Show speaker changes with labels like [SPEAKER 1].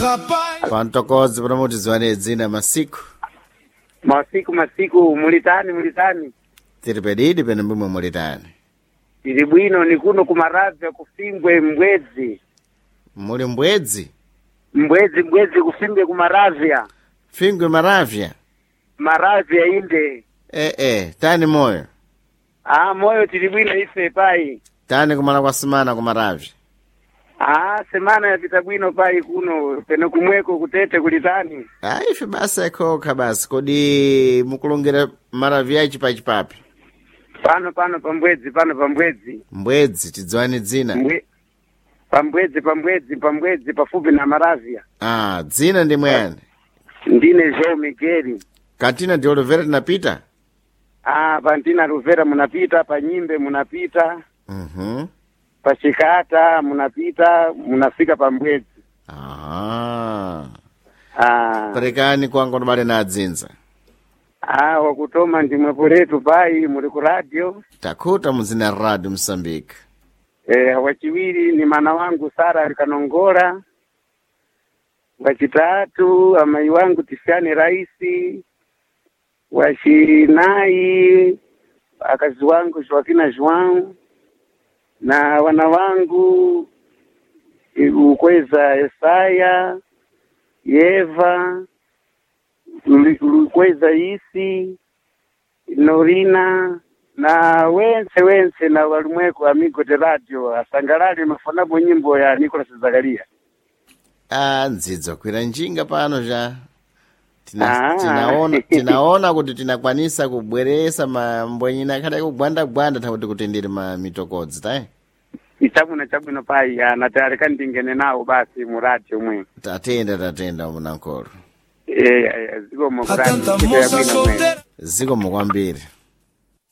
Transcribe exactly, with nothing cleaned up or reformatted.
[SPEAKER 1] Rapaz,
[SPEAKER 2] Pantokodzi pano tidziwane dzina masiku.
[SPEAKER 3] Masiku masiku mulitani mulitani.
[SPEAKER 2] Tiri pedidi pene mbumwe mulitani.
[SPEAKER 3] Tili bwino ni kuno kumaravya kufimbwe mbwedzi.
[SPEAKER 2] Muli mbwedzi?
[SPEAKER 3] Mbwedzi mbwedzi kufimbwe kumaravya.
[SPEAKER 2] Fingwe maravya.
[SPEAKER 3] Maravya inde.
[SPEAKER 2] Eh eh, tani moyo.
[SPEAKER 3] Ah moyo tili bwino ife pai.
[SPEAKER 2] Tani kumala kwa simana kumaravya.
[SPEAKER 3] Ah semana yapita bwino pai kuno peno kumweko kutete kulitani.
[SPEAKER 2] Ah, ife basa yakhoka basi kodi mukulongera maravya achipa chipapi.
[SPEAKER 3] Pano pano pambwedzi pano pambwedzi.
[SPEAKER 2] Mbwedzi tidziwane dzina.
[SPEAKER 3] Mbwe pambwedzi pambwedzi pambwedzi pafupi na maravya.
[SPEAKER 2] Ah, dzina ndi mwani.
[SPEAKER 3] Ndine João Miguel.
[SPEAKER 2] Katina ndi Olivera tinapita?
[SPEAKER 3] Ah pantina Ruvera munapita panyimbe munapita.
[SPEAKER 2] Mhm.
[SPEAKER 3] Pachikata munapita munafika pambwedzi.
[SPEAKER 2] Aha.
[SPEAKER 3] Ah,
[SPEAKER 2] Perekani kwangu ndibale na adzinza.
[SPEAKER 3] ah wakutoma ndimwepo letu pai muli ku radio.
[SPEAKER 2] Takhuta muzina radio Msambiki.
[SPEAKER 3] Eh, wachiwiri ni mana wangu Sara alikanongola. Wachitatu amai wangu Tisiani Raisi. Wachinayi akazi wangu Joaquina João na wana wangu eh, Ukweza Esaya Yeva Lu- Lukweza Isi Norina na wense wense na walimweko amigo de radio asangalale mafonapo nyimbo ya Nicolas Zakaria.
[SPEAKER 2] Ah, ndzidzo kwira njinga pano ja. Tina,
[SPEAKER 3] Ah.
[SPEAKER 2] tinaona tinaona kuti tinakwanisa kubweresa mambwenyina akhale kugwanda-gwanda thakuti kuti ndiri ma mitokodzi tayi.
[SPEAKER 3] Ichabwino chabwino pai anati ndingene nawo basi mu radio mwe.
[SPEAKER 2] Tatenda tatenda munankolo.
[SPEAKER 3] Eh eh, zikomo
[SPEAKER 1] a
[SPEAKER 3] ku radio
[SPEAKER 1] tanta
[SPEAKER 3] ntchito
[SPEAKER 1] moça
[SPEAKER 3] yabwino mwe.
[SPEAKER 1] solteira.
[SPEAKER 2] Zikomo kwambiri.